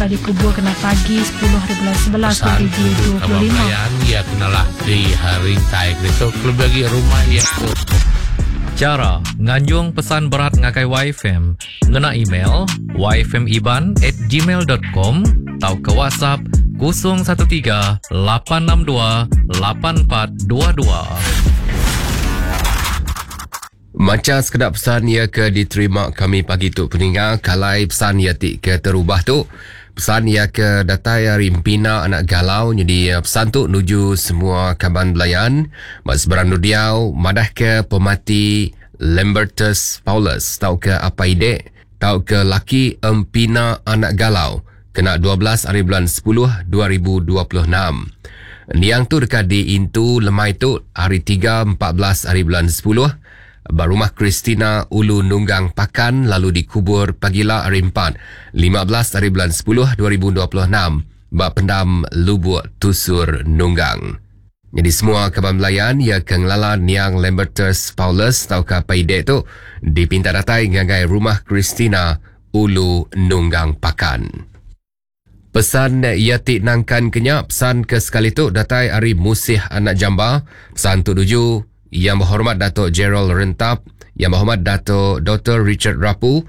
Dikubur kena pagi sepuluh hari bulan 11 Pesan tuju kaban 2025. belayan iya kenalah di rintai ke ditu kelebih agi rumah iya tu. Chara nganjung pesan berat ngagai Waifm ngena email waifmiban at gmail dot com tauka WhatsApp 013 862 8422. Macha sekeda pesan iya ke diterima kami pagi tu peninga kalai pesan iya ti ke terubah tu. Pesan iya ke datai ari Empina anak Galau nyadi pesan tu nuju semua kaban belayan ba seberang Nudiau madah ke pemati Lambertus Paulus tauka apai ide tauka laki Empina anak Galau kena 12 ari bulan 10 2026. Niang tu deka diintu lemai tu hari 3 14 ari bulan 10 ba rumah Christina Ulu Nunggang Pakan lalu dikubur pagila hari 4 15 ari bulan 10 2026 ba pendam Lubuk Tusur Nunggang. Nyadi semua kaban belayan iya ke ngelala niang Lambertus Paulus tauka Apai Idek tu dipinta datai ngagai rumah Christina Ulu Nunggang Pakan. Pesan iya ti nangkan ke nya, pesan ke sekali tu datai ari Musih Anak Jamba, pesan tu nuju Yang Berhormat Dato Gerald Rentap, Yang Berhormat Dato Doktor Richard Rapu,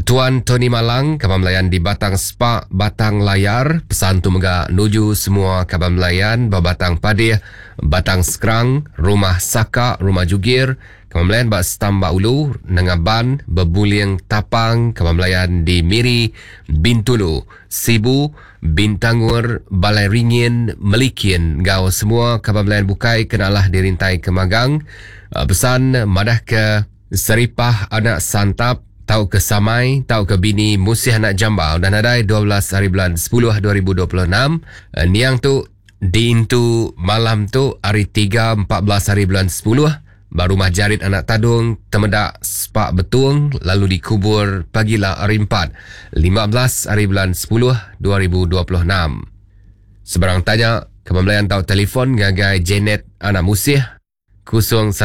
Tuan Tony Malang, kaban belayan di Batang Spa, Batang Layar, pesan tu mega nuju semua kaban belayan ba Batang Padih, Batang Skrang, Rumah Saka, Rumah Jugir, Kaban belayan ba Stambak Ulu, Nanga Ban, Bebuling, Tapang, kaban belayan di Miri, Bintulu, Sibu, Bintangur, Balai Ringin, Melikin enggau semua kaban belayan bukai ke nalah dirintai ke magang. Pesan madahka Seripah anak Santap tauka Samai tauka bini Musih anak Jamba udah nadai 12 hari bulan 10 2026. Niang tu Diintu malam tu hari tiga 14 hari bulan 10 ba Rumah Jarit Anak Tadung, Temedak, Spak Betung lalu dikubur pagila hari empat 15 hari bulan 10 2026. Sebarang tanya, kaban belayan tau telefon ngagai Janet Anak Musih 019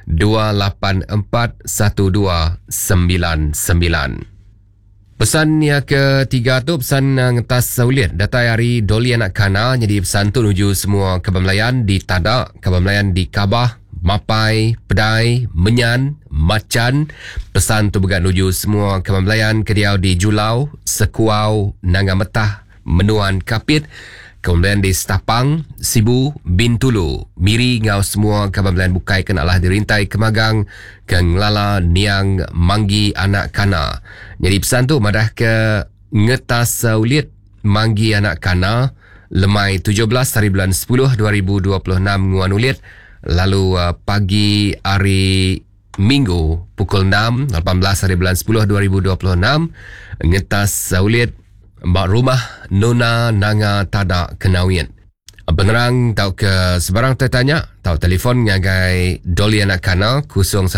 284 1299. Pesan iya ke tiga tu pesan eh, ngetas ulit datai ari Dolly anak Kana nyadi pesan tu nuju semua kaban Melayan di Tada, kaban Melayan di Kabah, Mapai, Pedai, Menyan, Machan. Pesan tu mega nuju semua kaban Melayan ke diau di Julau, Sekuau, Nanga Metah, Menuan Kapit, Kaban Belayan di Stapang, Sibu, Bintulu, Miri enggau semua kaban belayan bukai ke nalah dirintai kemagang ke ngelala niang Manggi anak Kana. Nyadi pesan tu madah ke ngetas ulit Manggi anak Kana lemai 17 hari bulan 10 2026 nguan ulit lalu pagi hari Minggu pukul 6, 18 hari bulan 10 2026 ngetas ulit ba rumah Nona Nanga Tada Kenawit. Penerang tauka sebarang tanya tau telefon ngagai Dolly Anak Kana 019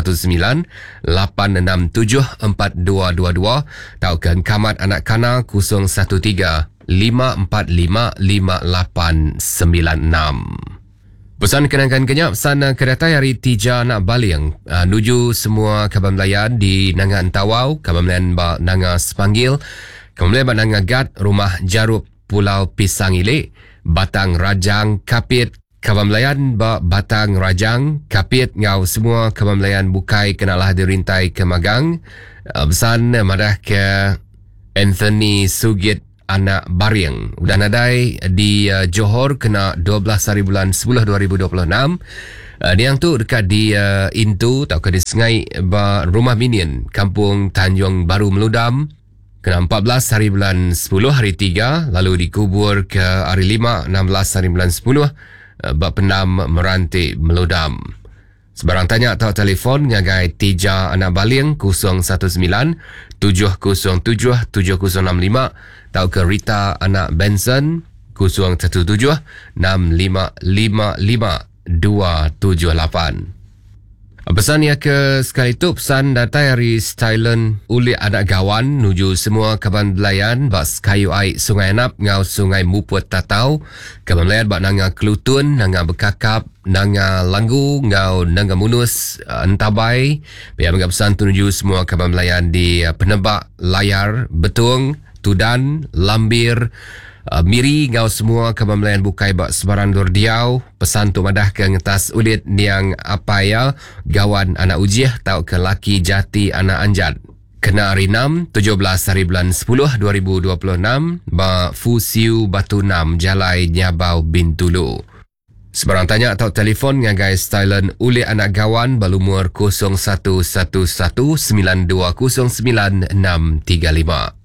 867 4222 tauka Engkamat Anak Kana 013 545 5896. Pesan kenangkan ke nya pesan ke datai ari Tija anak Baling nuju semua kaban belayan di Nanga Entawau, kaban belayan ba Nanga Sepanggil, kaban belayan ba Nanga Gat, Rumah Jarup Pulau Pisang Ili, Batang Rajang Kapit, kaban belayan ba Batang Rajang Kapit enggau semua kaban belayan bukai ke nalah dirintai ke magang. Pesan madah ke Anthony Sugit Anak Baring udah nadai di Johor kena 12 hari bulan 10 2026. Niang tu deka di intu tauka disengai ba Rumah Minin, Kampung Tanjung Baru Meludam kena 14 hari bulan 10 hari 3 lalu dikubur ke hari 5 16 hari bulan 10 ba Pendam Meranti Meludam. Sebarang tanya tau telefon ngagai Tija Anak Baling 019 707 7065 tauka Rita Anak Benson 017 6555 278. Pesan iya ke sekali tu pesan datai ari Stylen Ulik Anak Gawan nuju semua kaban belayan ba sekayu ai Sungai Anap enggau Sungai Muput Tatau, kaban belayan ba Nanga Kelutun, Nanga Bekakap, Nanga Langgu enggau Nanga Munus Entabai. Pia mega pesan tu nuju semua kaban belayan di Penebak, Layar, Betong, Tudan, Lambir, Miri enggau semua kaban belayan bukai ba sebarang endur diau. Pesan tu madah ke ngetas ulit niang apai iya Gawan anak Ujih tauka laki Jati anak Anjat. Kena hari enam, 17 hari bulan 10 2026 ba Fusiu Batu 6 Jalai Nyabau Bintulu. Sebarang tanya atau telefon ngagai Stylen Ulik Anak Gawan ba lumur 0111 9209635.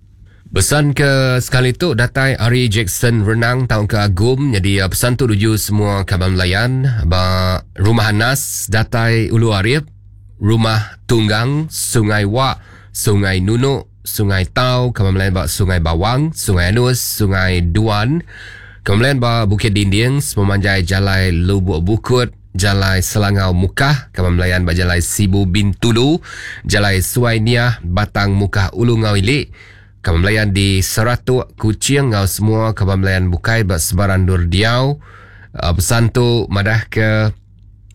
Pesan ke sekali tu datai ari Jackson Renang tahun ke Agum. Jadi pesan tu tuju semua kaban belayan ba Rumah Anas datai Ulu Arif, Rumah Tunggang, Sungai Wak, Sungai Nunuk, Sungai Tau, kaban belayan ba Sungai Bawang, Sungai Anus, Sungai Duan, kaban belayan ba Bukit Dinding, sepemanjai Jalai Lubuk Bukut, Jalai Selangau Mukah, kaban belayan ba Jalai Sibu Bintulu, Jalai Suai Niah, Batang Mukah Ulu Ngau Ilik, kaban belayan di Seratuk, Kuching ngau semua kaban belayan bukai ba sebarang dur diau. Pesan tu madah ke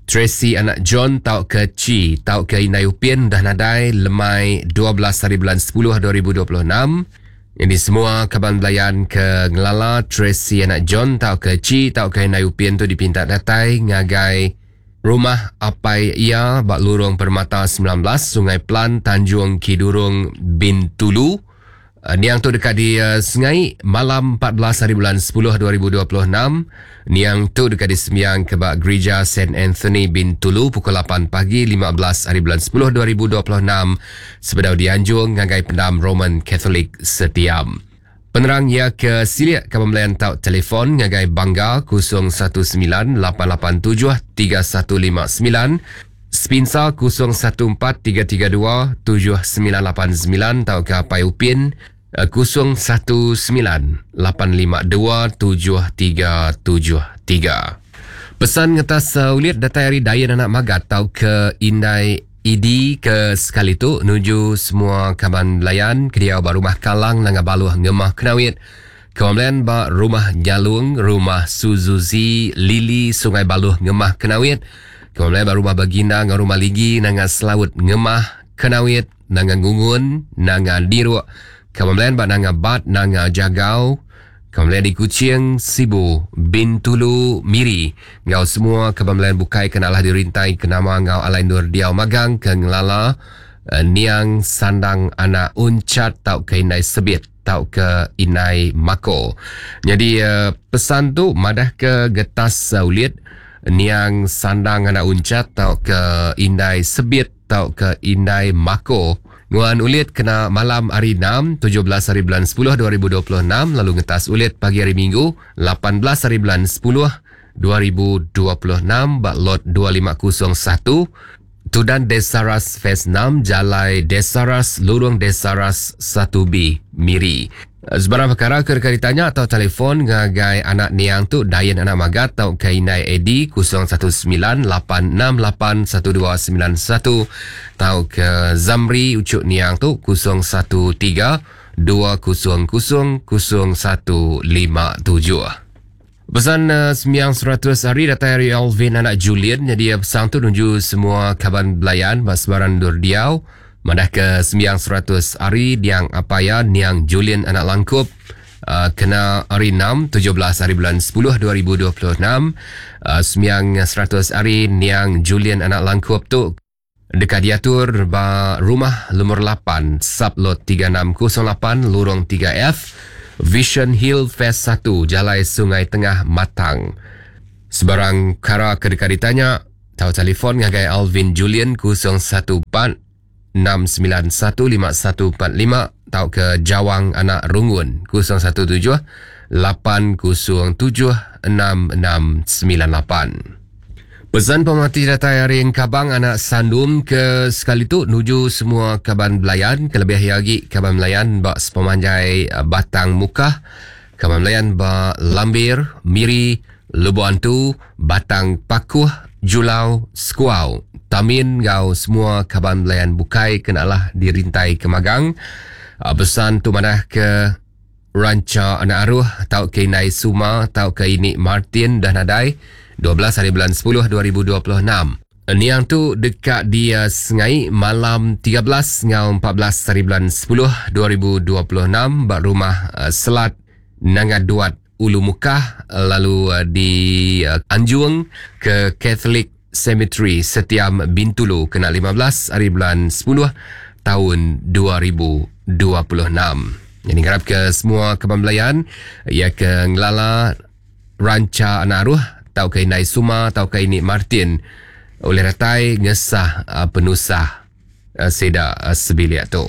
Tracy anak John tau ke Chi tau ke Indai Upin dah nadai lemai 12 hari bulan 10 2026. Jadi semua kaban belayan ke ngelala Tracy anak John tau ke Chi tau ke Indai Upin tu dipinta datai ngagai rumah apai ia ba Lurung Permata 19 Sungai Plan Tanjung Kidurong Bintulu. Niang tu dekat di Sengai malam 14 hari bulan 10 2026. Niang tu dekat di Sembiang ke ba Gereja St. Anthony Bintulu pukul 8 pagi 15 hari bulan 10 2026 sebedau dianjung ngagai pendam Roman Catholic Setiam. Penerang ia ke silik ke pembelian tau telefon ngagai Bangga 019 887 3159 Spinsa 014 332 7989 tau ke Apai Upin 019 852 7373. Pesan ngetas ulit datai hari Dayan anak Magat tau ke Indai ID ke sekali tu nuju semua kaban belayan ke dia ba Rumah Kalang Nanga Baluh Ngemah Kenawit. Kaban belayan ba Rumah Jalung, Rumah Suzuzi Lili Sungai Baluh Ngemah Kenawit. Kaban belayan ba Rumah Baginda ngau Rumah Ligi Nanga Selaut Ngemah Kenawit, Nanga Ngungun, Nanga Diruk. Kaban belayan ba Nanga Bat, Nanga Jagau. Kaban belayan di Kuching, Sibu, Bintulu, Miri. Ngau semua kaban belayan bukai kenalah dirintai ke nama ngau alai nur diau magang ke ngelala niang sandang anak uncat tau ke Indai Sebit tau ke Indai Mako. Jadi pesan tu madah ke getas ulit niang sandang anak uncat tau ke Indai Sebit tau ke Indai Mako. Nguan ulit kena malam hari 6, 17 hari bulan 10 2026, lalu ngetas ulit pagi hari Minggu 18 hari bulan 10 2026 bak lot 2501 Tudan Desaras Phase 6 Jalai Desaras Lurung Desaras 1B Miri. Sebarang perkara ke dekat ditanya atau telefon ngagai anak niang tu Dayan anak Magat atau ke Indai Edi 019 868 1291 atau ke Zamri Ucuk niang tu 013 200 0157. Pesan sembiang 100 hari datang hari Alvin anak Julian. Jadi pesan tu nuju semua kaban belayan ba sebarang dur diau. Madah ke sembiang 100 hari diang apaya niang Julian anak Langkup kena hari 6 17 hari bulan 10 2026. Sembiang 100 hari niang Julian anak Langkup tu dekat diatur ba rumah nomor 8 sublot 3608 lorong 3F Vision Hill Phase 1 Jalai Sungai Tengah Matang. Sebarang kara ke dekat ditanya tau telefon ngagai Alvin Julian 014 691 5145 tau ke Jawang anak Rungun 017 807 6698. Pesan pemati datai hari Engkabang anak Sandum ke sekali tu nuju semua kaban belayan, kelebih lagi kaban belayan ba sepemanjai Batang Mukah, kaban belayan ba Lambir, Miri, Lubuk Antu, Batang Pakuh, Julau, Sekuau, Tamin ngau semua kaban belayan bukai kenalah dirintai ke magang. Pesan tu madah ke Ranca anak Aruh tau ke Indai Suma tau ke Ini Martin dah nadai 12 hari bulan 10 2026. Niang tu deka disengai malam 13 enggau 14 hari bulan 10 2026 ba rumah Selat Nanga Duat Ulu Mukah lalu dianjung ke Catholic Cemetery Setiam Bintulu kena 15 hari bulan 10 taun 2026. Jadi ngarap ke semua kaban belayan ia ke ngelala Rancha Anak Aruh tauka Indai Suma tauka Ini Martin ulih datai ngesah penusah sida sebilik tu.